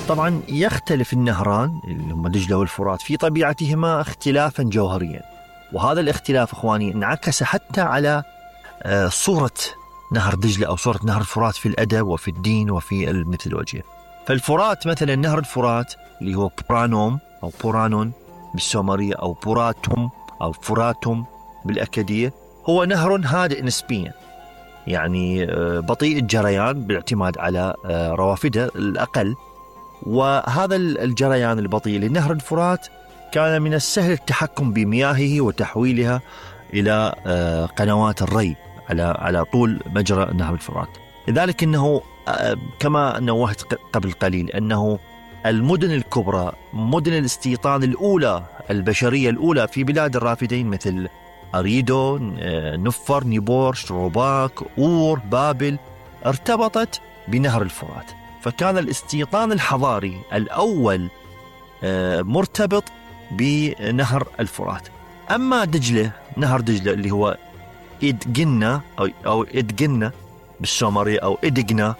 طبعا يختلف النهران اللي هم دجلة والفرات في طبيعتهما اختلافا جوهريا، وهذا الاختلاف اخواني انعكس حتى على صورة نهر دجلة أو صورة نهر الفرات في الأدب وفي الدين وفي الميثولوجيا. فالفرات مثلا نهر الفرات اللي هو بورانوم أو بورانون بالسومرية أو بوراتوم أو فراتوم بالأكدية، هو نهر هادئ نسبيا، يعني بطيء الجريان بالاعتماد على روافده الأقل. وهذا الجريان البطيء لنهر الفرات كان من السهل التحكم بمياهه وتحويلها إلى قنوات الري على طول مجرى نهر الفرات. لذلك أنه كما نوهت قبل قليل أنه المدن الكبرى، مدن الاستيطان الأولى البشرية الأولى في بلاد الرافدين مثل أريدو، نفر، نيبور، شروباك، أور، بابل، ارتبطت بنهر الفرات. فكان الاستيطان الحضاري الأول مرتبط بنهر الفرات. أما دجلة، نهر دجلة اللي هو إدجنا أو إدجنا بالسومرية أو إدجنا،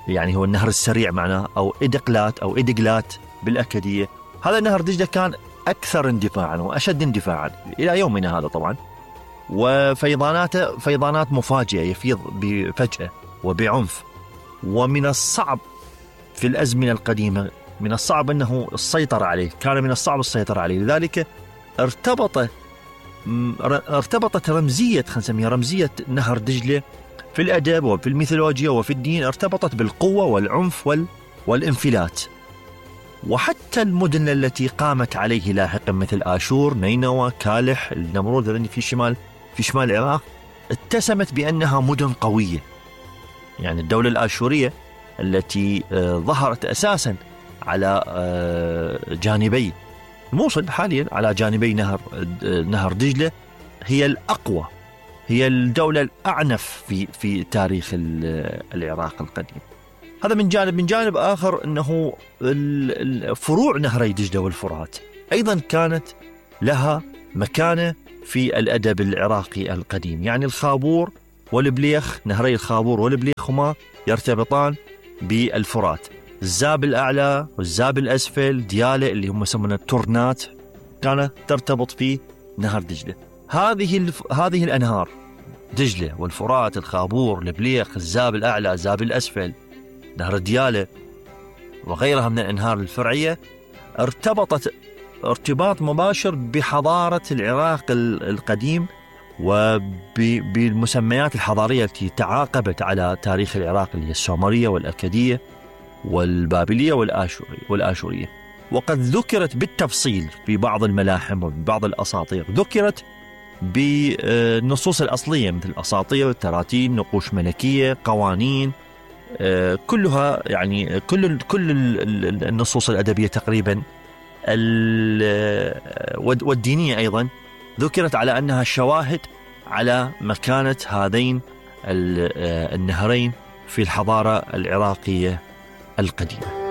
يعني هو النهر السريع معناه، أو إدقلات أو إدقلات بالأكدية. هذا نهر دجلة كان أكثر اندفاعا وأشد اندفاعا إلى يومنا هذا طبعا، وفيضاناته فيضانات مفاجئة، يفيض بفجأة وبعنف. ومن الصعب في الأزمنة القديمة، من الصعب أنه السيطرة عليه، كان من الصعب السيطرة عليه. لذلك ارتبطت رمزية، خلينا نسميها رمزية نهر دجلة في الأدب وفي الميثولوجيا وفي الدين، ارتبطت بالقوة والعنف والانفلات. وحتى المدن التي قامت عليه لاحقا مثل آشور، نينوى، كالح، النمرود الذي في شمال العراق اتسمت بأنها مدن قوية. يعني الدولة الآشورية التي ظهرت أساسا على جانبي الموصل حاليا، على جانبي نهر دجلة، هي الأقوى، هي الدولة الأعنف في تاريخ العراق القديم. هذا من جانب. من جانب آخر أنه فروع نهري دجلة والفرات أيضا كانت لها مكانة في الأدب العراقي القديم. يعني الخابور والبليخ، نهري الخابور والبليخ هما يرتبطان بالفرات. الزاب الأعلى والزاب الأسفل، ديالة اللي هم يسمونها التورنات، كانت ترتبط في نهر دجلة. هذه الأنهار دجلة والفرات، الخابور، البليخ، الزاب الأعلى، الزاب الأسفل، نهر ديالة وغيرها من الأنهار الفرعية، ارتبطت ارتباط مباشر بحضارة العراق القديم وبالمسميات الحضارية التي تعاقبت على تاريخ العراق، اللي هي السومرية والأكدية والبابلية والآشورية. وقد ذكرت بالتفصيل في بعض الملاحم وبعض الأساطير، ذكرت بالنصوص الأصلية مثل أساطير، تراتين، نقوش ملكية، قوانين، كلها يعني كل النصوص الأدبية تقريبا والدينية أيضا ذكرت على أنها شواهد على مكانة هذين النهرين في الحضارة العراقية القديمة.